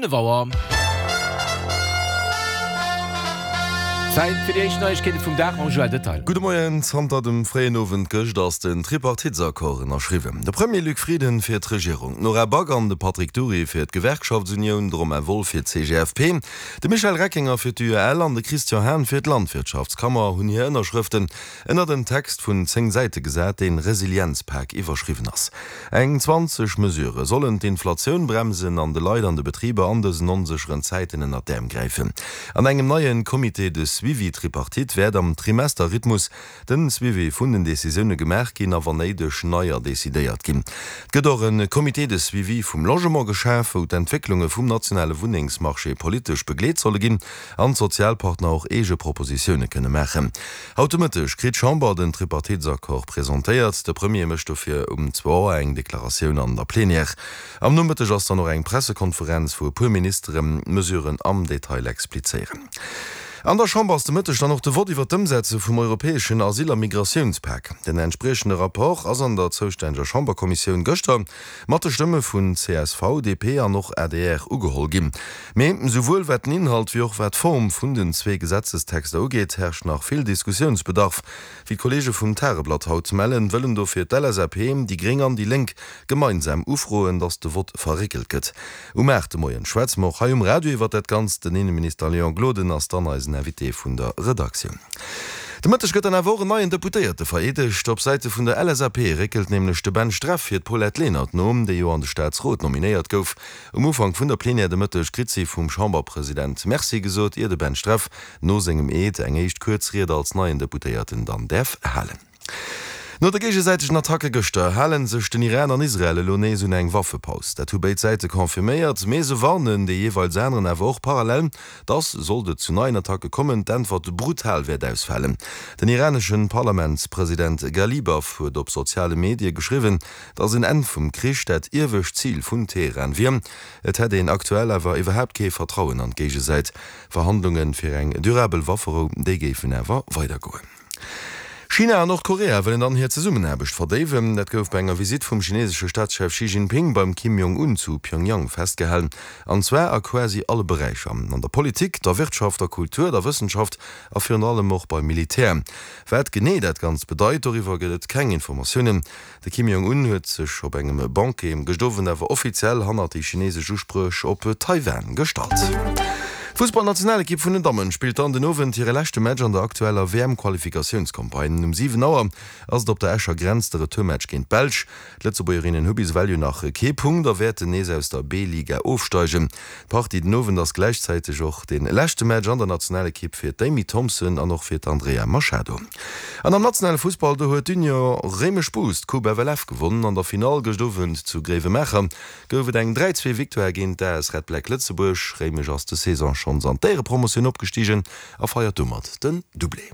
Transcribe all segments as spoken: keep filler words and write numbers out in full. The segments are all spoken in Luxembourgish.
fënnef Auer. Zäit fir déi éischt Neiegkeete vum Dag mam Joël Detail. Gudde Moien. Zanter dem fréien Owend gëscht ass den Tripartitesaccord ënnerschriwwen. De Premier Luc Frieden fir d'Regierung, d'Nora Back an de Patrick Dury fir d'Gewerkschaftsunioun, de Romain Wolff fir d'CGFP, de Michel Reckinger fir d'UEL an de Christian Hahn fir d'Landwirtschaftskammer hunn hir Ënnerschrëften ënnert en Text vun zéng Säite gesat, deen Resilienzpak iwwerschriwwen ass. Eng zwanzeg Mesurë sollen d'Inflatioun bremsen an de Leit an de Betriber an dësen onsécheren Zäiten ënnert d'Äerm gräifen. An engem neie Comité de suivi tripartite wäert am Trimester-Rhythmus de Suivi vun den Decisioune gemaach ginn a wann néideg neier decidéiert ginn. Et gëtt och e Comité de suivi vum Logement geschaf, wou d'Entwécklunge vum nationale Wunnengsmarché politesch begleet solle ginn an d'Sozialpartner och eege Propositioune kënne maachen. Haut de Mëtteg kritt d'Chamber den Tripartitesaccord presentéiert. De Premier mécht dofir um zwou Auer eng Deklaratioun an der Plenière. Am Nomëtteg ass dann och eng Pressekonferenz, wou e puer Ministeren d'Mesuren am Detail explizéieren. An der Chamber ass de Mëtteg dann och de Vott iwwer d'Ëmsetze vum europäeschen Asyl a Migratiounspak. Den entspriechende Rapport ass an der zoustänneger Chamberkommissioun gëschter mat de Stëmme vun csv, D P an och A D R ugeholl ginn. Mee souwuel wat den Inhalt wéi och wat d'Form vun den zwee Gesetzestexter ugeet, herrscht nach vill Diskussiounsbedarf. Wéi d'Kolleege vum Tageblatt haut mellen, wëllen dofir d'L S A P, déi Gréng an déi Lénk gemeinsam ufroen, datt de Vott verréckelt gëtt. Um aacht de Moien schwätze mer och hei um Radio iwwer dat Ganzt. Den Inneminister Léon Gloden ass dann eisen Invité vun der Redaktioun. De Mëtteg gëtt dann awer och en neien Deputéierte vereedegt. Op Säite vun der L S A P réckelt nämlech de Ben Streff fir d'Paulette Lenert no, déi jo an de Staatsrot nominéiert gouf. Um Ufank vun der Plenière de Mëtteg kritt si vum Chamberpresident Merci gesot, ier de Ben Streff no sengem Eed eng éischt kuerz Ried als neien Deputéierten dann däerf halen. No de géigesäitegen Attacke gëschter hale sech den Iran an Israel elo nees un eng Waffepaus. Dat hu béid Säite confirméiert, mee se warnen dee jeeweils aneren awer och parallel, dass, sollt et zu neien Attacke kommen, d'Äntwert brutal wäert ausfalen. Den iranesche Parlamentspresident Ghalibaf huet op soziale Medie geschriwwen, dass en Enn vum Krich dat iewescht Zil vun Teheran wier. Et hätt een aktuell awer iwwerhaapt kee Vertrauen an d'Géigesäit. Verhandlunge fir eng durabel Wafferou, déi géifen awer weidergoen. China an Nordkorea wëllen dann hir Zesummenaarbecht verdéiwen. Dat gouf bei enger Visitt vum chinesesche Staatschef Xi Jinping beim Kim Jong-un zu Pyongyang festgehalen. An zwar a quasi alle Beräicher, an der Politik, der Wirtschaft, der Kultur, der Wëssenschaft a virun allem och beim Militär. Wat genee dat Ganzt bedeit, doriwwer gëtt et keng Informatiounen. De Kim Jong-un huet sech op engem Banquet gëscht Owend awer offiziell hannert déi chinesesch Uspréch op Taiwan gestallt. D'Fussballnationalekipp vun den Dammen spillt dann den Owend hire leschte Match an der aktueller W M-Qualifikatiounscampagne. Um siwen Auer ass et op der Escher Grenz de Retourmatch géint d'Belsch. D'Lëtzebuergerinnen hu bis ewell jo nach kee Punkt a wäerten nees aus der B-Liga ofsteigen. D'Partie den Owend ass gläichzäiteg och de leschte Match an der Nationalekipp fir d'Amy Thompson an och fir d'Andrea Machado. An am nationale Fussball, do huet d'Union Réimech Bous d'Coupe F L F gewonnen. An der Finall gëscht Owend zu Gréiwemaacher gouf et eng dräi-zwee Victoire géint d'A S Red Black Lëtzebuerg. Réimech ass des Saison schonns an d'Éierepromotioun opgestigen a feiert domat den Doublé.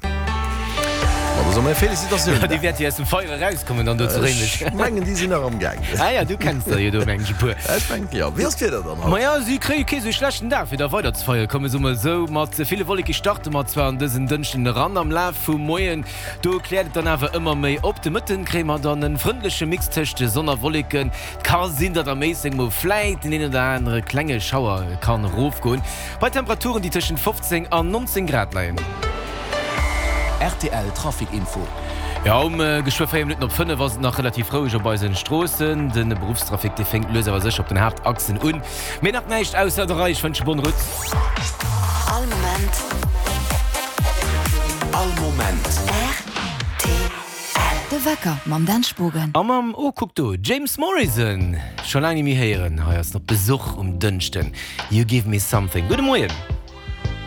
Ma da soe mir Felicitatioun. Déi wäerte jo aus dem Feier erauskommen dann do zu Réimech. Ech mengen, déi sinn nach am Gaang. Ah ja, du kenns der jo do mengen ech e puer. Ech mengen, jo. Wéi ass d'Wieder dann haut? Maja, si kréie kee sou schlechten Dag fir da weider ze feieren. Komme soe mer esou, mat ville Wolleke starte mer zwar an dësen Dënschden eran, am Laf vum Moien do kläert et dann awer ëmmer méi op. De Mëtten kréie mer dann e frëndleche Mix tëscht Sonn a Wolleken. Et ka sinn, datt am Méisseng mol vläit den een oder anere klenge Schauer kann erofgoen, bei Temperaturen, déi tëschent fofzéng an nonzéng Grad leien. R T L Trafic Info. Jo, um geschwë véier Minutten op fënnef ass et nach relativ roueg op eisen Stroossen. De Beruffstrafic, dee fénkt lues awer sécher op den Haaptachsen un. Mee nach näischt ausser der Rei. Ech wënsche bonne route. All Moment. All Moment. R T L. De Wecker mam Dan Spogen. A mam, oh kuck do, James Morrison! Scho laang ni méi héieren. Hei ass en op Besuch um Dënschden. You give me something. Gudde Moien.